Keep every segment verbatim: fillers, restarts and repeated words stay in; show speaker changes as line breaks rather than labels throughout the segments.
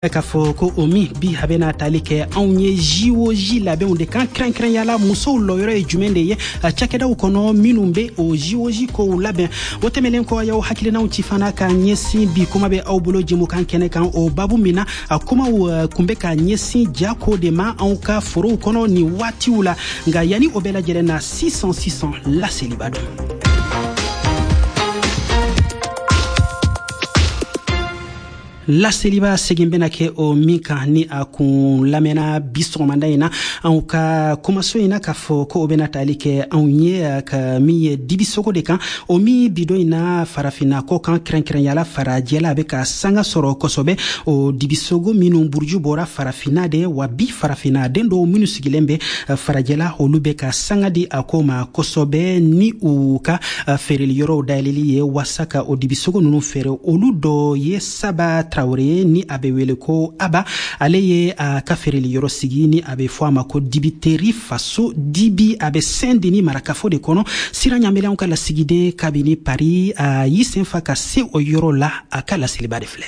K'a fɔ ko o min bi a bɛna tali kɛ anw ye J O J labɛnw de kan, kɛrɛnkɛrɛnya la musow lɔyɔrɔ ye jumɛn de ye cakɛdaw kɔnɔ minnu bɛ o J O J kow labɛn. O tɛmɛnen kɔ, y'aw hakilinaw ci fana ka ɲɛsin bi kuma bɛ aw bolo jɛmukan kɛnɛ kan, o babu min na a kumaw kun bɛ ka ɲɛsin jako de ma anw ka forow kɔnɔ nin waatiw la. Nka yanni o bɛɛ lajɛlen na, sisan sisan, laseliba don. Laseliba segin bɛna kɛ o min kan ni a kun lamɛnna bi sɔgɔmada in na anw ka kumaso in na, k'a fɔ ko o bɛna tali kɛ anw ye ka min ye dibisogo de kan, o min bidon in na farafinna kɔ kan, kɛrɛnkɛrɛnyala farajɛla, a bɛ ka sanga sɔrɔ kosɛbɛ. O dibisogo minnu buruju bɔra farafinna de wa, bi farafinna den dɔw minnu sigilen bɛ farajɛla, olu bɛ ka sanga di a ko ma kosɛbɛ ni u ka feereli yɔrɔw dayɛlɛli ye waasa ka o dibisogo ninnu feere. Olu dɔ ye Saba Tarawele, ni a bɛ wele ko Aba. Ale ye a ka feereli yɔrɔ sigi ni a bɛ fɔ a ma ko Dibiteri Faso Dibi. A bɛ Saint Denis marakafo de kɔnɔ. Sira ɲamɛlɛnw ka lasigiden kabini Paris, a y'i sen fa ka se o yɔrɔ la. A ka laseliba de filɛ.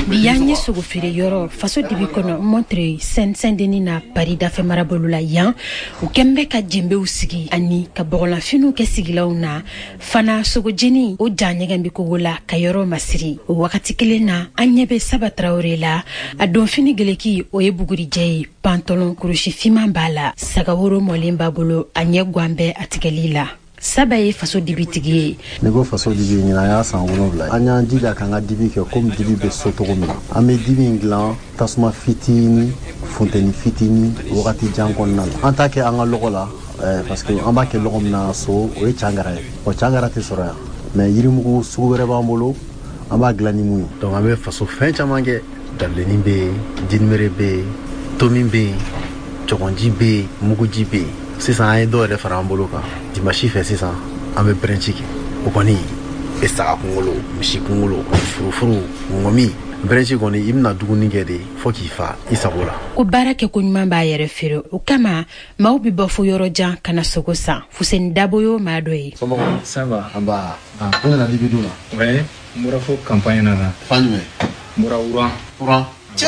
Bi y'an ye sogo feere yɔrɔ Faso Dibi kɔnɔ, Montreuil, Saint Denis na, Paris dafɛ marabolo la. Yan, u kɛn bɛ ka jenbew sigi ani ka bɔgɔlanfiniw kɛ sigilanw na fana. Sogojeni o ja ɲɛgɛn bɛ kogo la ka yɔrɔ masiri. O wagati kelen na, an ɲɛ bɛ Saba Tarawele la. A donfini geleki, o ye bugurijɛ ye, pantalon kurusi finman b'a la, sagaworo mɔlen b'a bolo, a ɲɛ guwan bɛ a tigɛli la. Saba ye Faso Dibitigi ye.
N'i ko Faso Dibi, ɲinan y'a san wolonwula. An y'an jija k'an ka dibi kɛ komi dibi bɛ so cogo min na. An bɛ dibi in dilan tasuma fitinin, funteni fitinin, wagati jan kɔnɔna la. An t'a kɛ an ka lɔgɔ la, parce que an b'a kɛ lɔgɔ min na so, o ye cangara ye. O cangara tɛ sɔrɔ yan, mais yirimugu sugu wɛrɛ b'an bolo, an b'a dilan ni mun ye. Donc an bɛ faso fɛn caman kɛ: dabilenni bɛ yen, jinimere bɛ yen, tomi bɛ yen, cɔgɔnji bɛ yen, muguji bɛ yen. Sisan an ye dɔw yɛrɛ fara an bolo kan. Dimanche fɛ sisan, an bɛ brunch kɛ. O kɔni e saga kunkolo, misi kunkolo, furufuru, ŋɔmi. Brunch kɔni, i bɛna dumuni kɛ de fo k'i fa i sago la.
Ko baara kɛ ko ɲuman b'a yɛrɛ feere, o kama maaw bɛ bɔ fo yɔrɔ jan ka na sogo san. Fuseni Dabo y'o maa dɔ ye.
Somɔgɔw?
Ça va.
An ba, n nana dibi dun na.
Ouais, n bɔra fo campagne na na.
Fan jumɛn?
N bɔra Wuran.
Wuran cɛ,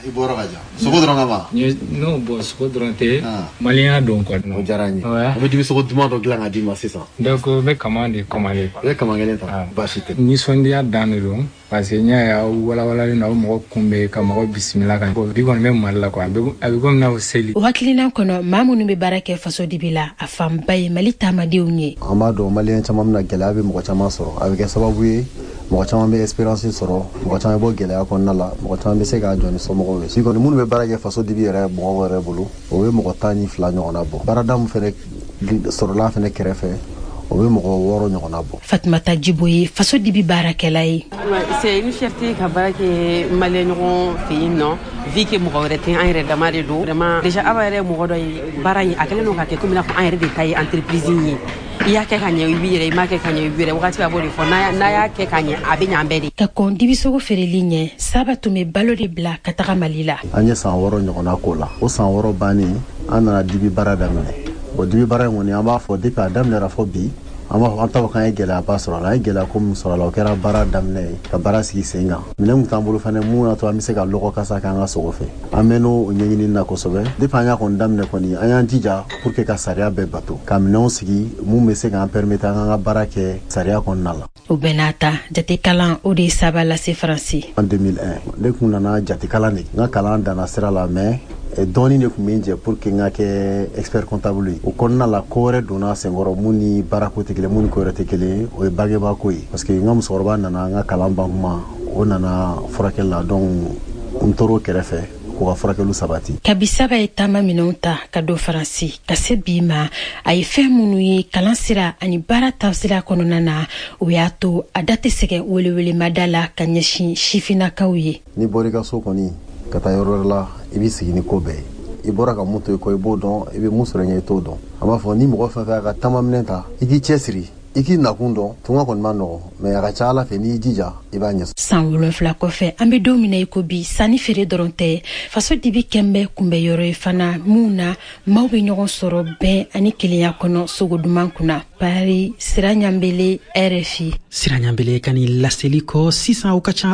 i bɔra ka jan sogo dɔrɔn kama.
Non, bon, sogo dɔrɔn tɛ, maliyɛnya don quoi.
O diyara n ye. An bɛ dibi sogo duman dɔ dilan ka d'i ma sisan.
Donc n bɛ kaman de commander.
I bɛ kaman kelen ta, baasi tɛ.
Nisɔndiya dan de don, parce que n y'a ye aw walawalalen don, aw mɔgɔ kunbɛn ka mɔgɔ bisimila ka bi kɔni bɛ Mali la quoi, a bɛ komi n'a fɔ seli.
O hakilina kɔnɔ, maa minnu bɛ baara kɛ Faso Dibi la, a fanba ye Mali taamadenw ye.
An b'a dɔn maliyɛn caman bɛna, gɛlɛya bɛ mɔgɔ caman sɔrɔ. A bɛ kɛ sababu ye mɔgɔ caman bɛ espérance sɔrɔ, mɔgɔ caman bɛ bɔ gɛlɛya kɔnɔna la, mɔgɔ caman bɛ se k'a jɔ ni somɔgɔw ye. Si kɔni minnu bɛ baara kɛ Faso Dibi yɛrɛ mɔgɔw yɛrɛ bolo, o bɛ mɔgɔ tan ni fila ɲɔgɔnna bɔ. Baarada min fɛnɛ sɔrɔla fɛnɛ kɛrɛfɛ, o bɛ mɔgɔ wɔɔrɔ ɲɔgɔnna bɔ.
Fatumata Jibo ye Faso Dibi baarakɛla ye.
C'est une fierté ka baara kɛ maliyɛn ɲɔgɔn fɛ yen nɔ, vu que mɔgɔ wɛrɛ tɛ, an yɛrɛ dama de don. Vraiment, déjà Aba yɛrɛ ye mɔgɔ dɔ ye, baara in a kɛlen don ka kɛ komi i n'a fɔ an yɛrɛ de ta ye entreprise in ye. I y'a kɛ ka ɲɛ, i b'i yɛrɛ, i m'a kɛ ka ɲɛ, i b'i yɛrɛ. Wagati a b'o de fɔ, n'a y'a kɛ ka ɲɛ, a bɛ ɲɛ an bɛɛ de.
Ka kɔn dibisogo feereli ɲɛ, Saba tun bɛ balo de bila ka taga Mali la.
An ye san wɔɔrɔ ɲɔgɔnna k'o la. O san wɔɔrɔ bannen, an nana dibi baara daminɛ. O dibi baara in kɔni, an b'a fɔ depuis a daminɛra fɔ bi, an b'a fɔ an t'a fɔ k'an ye gɛlɛyaba sɔrɔ a la. An ye gɛlɛya ko min sɔrɔ a la, o kɛra baara daminɛ ye, ka baara sigi sen kan. Minɛn kun t'an bolo fɛnɛ mun y'a to an bɛ se ka lɔgɔ kasa k'an ka sogo fɛ. An mɛn'o ɲɛɲini na kosɛbɛ. Depuis an y'a kɔni daminɛ kɔni, an y'an jija pour que ka sariya bɛɛ bato, ka minɛnw sigi mun bɛ se k'an permettre an k'an ka baara kɛ sariya kɔnɔna la.
O bɛɛ n'a ta, jatekalan o de ye Saba lase Faransi.
En deux mille un, ne kun nana jatekalan de. N ka kalan danna sira la, mais dɔɔni de tun bɛ n jɛ pour que n ka kɛ expert comptable ye. O kɔnɔna la, ko wɛrɛ donna senkɔrɔ mun ni baarako tɛ kelen, mun ni ko wɛrɛ tɛ kelen ye. O ye bangebaa ko ye, parce que n ka musokɔrɔba nana n ka kalan ban kuma, o nana furakɛli la. Donc n tor'o kɛrɛfɛ k'u ka furakɛliw sabati.
Kabi Saba ye taama minɛnw ta ka don Faransi ka se bi ma, a ye fɛn minnu ye kalan sira ani baara taasira kɔnɔna na, o y'a to a da tɛ sɛgɛ welewelemada la ka ɲɛsin sifinnakaw ye.
N'i bɔra i ka so kɔni ka taa yɔrɔ wɛrɛ la, i b'i sigi ni ko bɛɛ ye. I bɔra ka mun to i kɔ, i b'o dɔn. I bɛ mun sɔrɔ ɲɛ, i t'o dɔn. An b'a fɔ ni mɔgɔ fɛn fɛn y'a ka taamaminɛ ta, i k'i cɛ siri. I k'i nakun dɔn. Tunga kɔni ma nɔgɔ, mais a ka ca Ala fɛ, n'i jija, i b'a ɲɛ.
San wolonfila kɔfɛ, an be don min na i ko bi, sanni feere dɔrɔn tɛ, Faso Dibi kɛnbɛ kunbɛ yɔrɔ ye fana mun na maaw be ɲɔgɔn sɔrɔ bɛn ani kelenya kɔnɔ sogo duman kunna. Paris, Sira Ɲanbele, R F I.
Sira Ɲanbele ka nin laseli kɔ sisan, o ka ca.